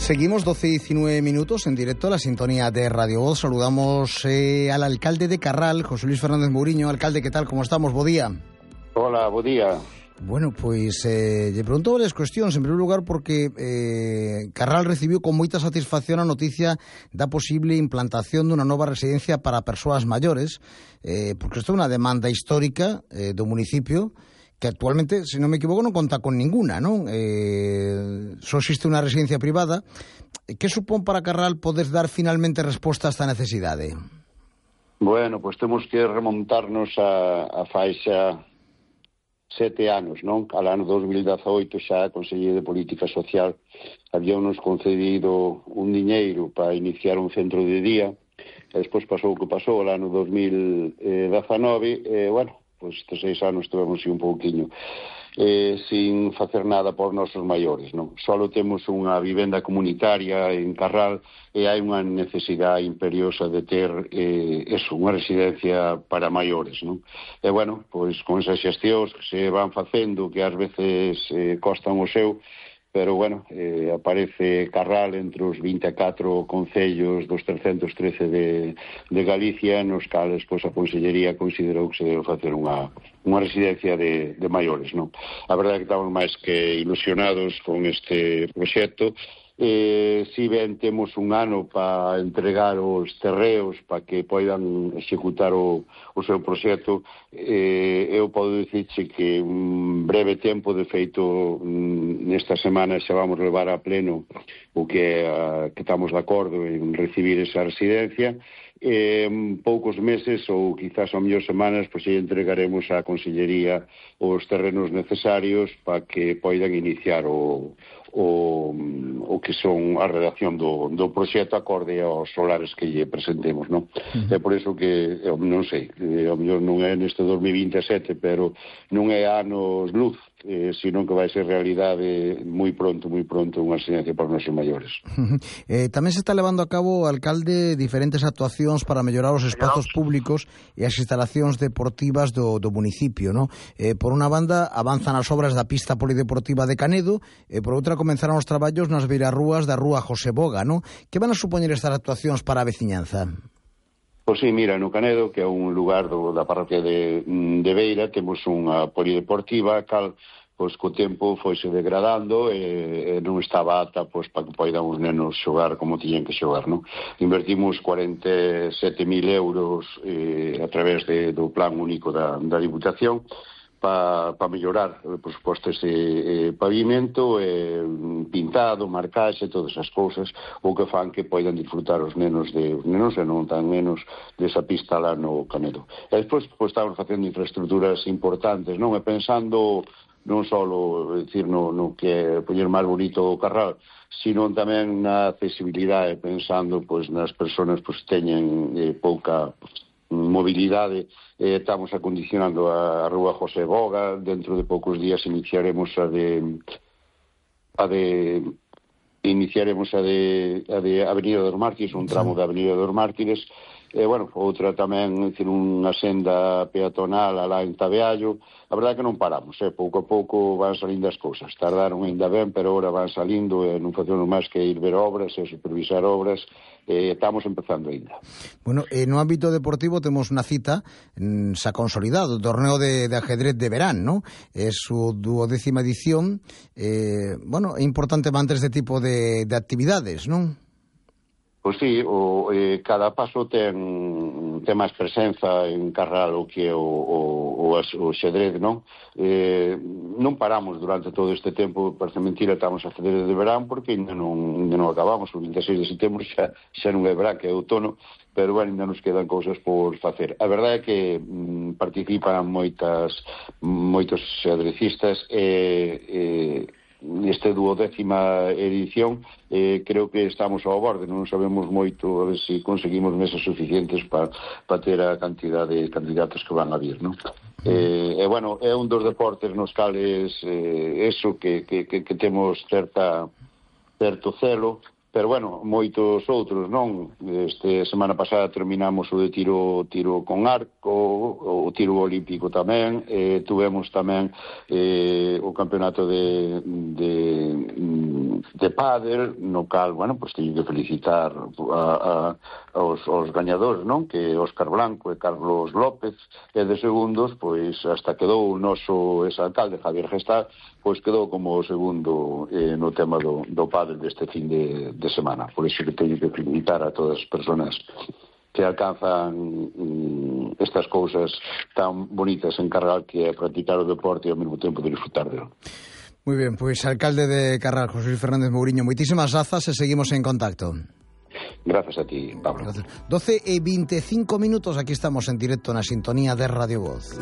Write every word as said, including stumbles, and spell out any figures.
Seguimos doce y diecinueve minutos en directo a la sintonía de Radio Voz. Saludamos eh, al alcalde de Carral, José Luis Fernández Mouriño. Alcalde, ¿qué tal? ¿Cómo estamos? Bo día. Hola, bo día. Bueno, pois eh, lle pregunto varias cuestións. En primeiro lugar, porque eh, Carral recibiu con moita satisfacción a noticia da posible implantación dunha nova residencia para persoas maiores, eh, porque isto é unha demanda histórica eh, do municipio, que actualmente, se non me equivoco, non conta con ninguna, non? Eh, só existe unha residencia privada. Que supón para Carral poder dar finalmente resposta a esta necesidade? Bueno, pois temos que remontarnos a, a faixa sete anos, non? Al ano dos mil dezaoito xa a Consellería de Política Social habíamos concedido un diñeiro para iniciar un centro de día, e despois pasou o que pasou al ano dos mil dezanove, e, bueno, pois estes seis anos tivemos un pouquiño eh, sin facer nada por nosos maiores, non? Solo temos unha vivenda comunitaria en Carral e hai unha necesidade imperiosa de ter eh, eso, unha residencia para maiores, non? E, bueno, pois con esas xestións que se van facendo, que ás veces eh, costan o seu, pero, bueno, eh, aparece Carral entre os vinte e catro concellos dos trescentos trece de, de Galicia, nos cales, pois, a Consellería considerou que se debe facer unha, unha residencia de, de maiores, non? A verdade é que estamos máis que ilusionados con este proxecto. Eh, si ben temos un ano para entregar os terreos para que poidan executar o, o seu proxecto, eh, eu podo dicirche que un breve tempo, de feito nesta semana xa vamos levar a pleno o que, a, que estamos de acordo en recibir esa residencia. En poucos meses ou quizás ao mellor semanas, pois entregaremos á Consellería os terrenos necesarios para que poidan iniciar o O, o que son a redacción do, do proxecto acorde aos solares que lle presentemos, non? Uh-huh. É por iso que, eu non sei, ao mellor non é neste dos mil vinte e sete, pero non é anos luz, eh, sino que vai ser realidade moi pronto, moi pronto, unha residencia para os nosos maiores. Uh-huh. Eh, tamén se está levando a cabo, alcalde, diferentes actuacións para mellorar os espazos públicos e as instalacións deportivas do, do municipio, non? Eh, por unha banda, avanzan as obras da pista polideportiva de Canedo, e por outra, comenzaron os traballos nas beirarrúas da rúa José Boga, non? Que van a supoñer estas actuacións para a veciñanza? Pois sí, mira, no Canedo, que é un lugar do, da parroquia de, de Beira, temos unha polideportiva, cal, pois, co tempo foise degradando e, e non estaba ata, pois, para que poidan os nenos xogar como tiñen que xogar, non? Invertimos cuarenta e sete mil euros eh, a través de, do plan único da, da Diputación, para pa mellorar, por suposto, ese eh, pavimento, eh, pintado, marcaxe, todas as cousas, o que fan que poidan disfrutar os nenos, de, os nenos e non tan menos desa pista lá no Canedo. E despois, pois, estamos facendo infraestructuras importantes, non? E pensando non só, decir, no, no que é poñer máis bonito o Carral, sino tamén na accesibilidade, pensando, pois, nas persoas, pois, teñen eh, pouca mobilidade. Eh, estamos acondicionando a, a rúa José Boga, dentro de poucos días iniciaremos a de a de iniciaremos a de a de Avenida dos Mártires, un tramo da Avenida dos Mártires, e, bueno, outra tamén, decir, unha senda peatonal alá en Tabeallo. A verdade é que non paramos, eh? Pouco a pouco van salindo as cousas, tardaron ainda ben, pero agora van salindo, e non facemos máis que ir ver obras e supervisar obras, e estamos empezando ainda. Bueno, eh, no ámbito deportivo temos unha cita mm, xa consolidado, o torneo de, de ajedrez de verán, ¿no? É su duodécima edición. Eh, bueno, é importante manter este tipo de, de actividades, non? Pois sí, o, eh, cada paso ten, ten máis presenza en Carral o que é o, o, o xadrez, non? Eh, non paramos durante todo este tempo, parece mentira, estamos a xadrez de verán, porque ainda non, ainda non acabamos, o vinte e seis de setembro xa, xa non é verán, que é outono, pero, bueno, ainda nos quedan cousas por facer. A verdade é que mm, participan moitas, moitos xadrecistas e... Eh, neste duodécima edición, eh, creo que estamos ao borde, non sabemos moito a ver se si conseguimos mesas suficientes para pa ter a cantidad de candidatos que van a vir, non? Eh, e, bueno, é un dos deportes nos cales eh, eso que, que, que, que temos certa certo celo, pero, bueno, moitos outros, non? Este semana pasada terminamos o de tiro tiro con arco, o tiro olímpico tamén, eh, tuvemos tamén eh, o campeonato de, de de pádel, no cal, bueno, pois teño que felicitar a, a, aos, aos gañadores, non? Que Óscar Blanco e Carlos López, e de segundos, pois hasta quedou o noso exalcalde Javier Gestal, pois quedou como o segundo eh, no tema do, do pádel deste fin de, de semana. Por iso que teño que felicitar a todas as personas que alcanzan mm, estas cousas tan bonitas en Carral, que é practicar o deporte e ao mesmo tempo de disfrutar dele. Muy bien, pues alcalde de Carral, José Luis Fernández Mouriño, moitísimas grazas e seguimos en contacto. Gracias a ti, Pablo. Gracias. doce e veinticinco minutos, aquí estamos en directo na sintonía de Radio Voz.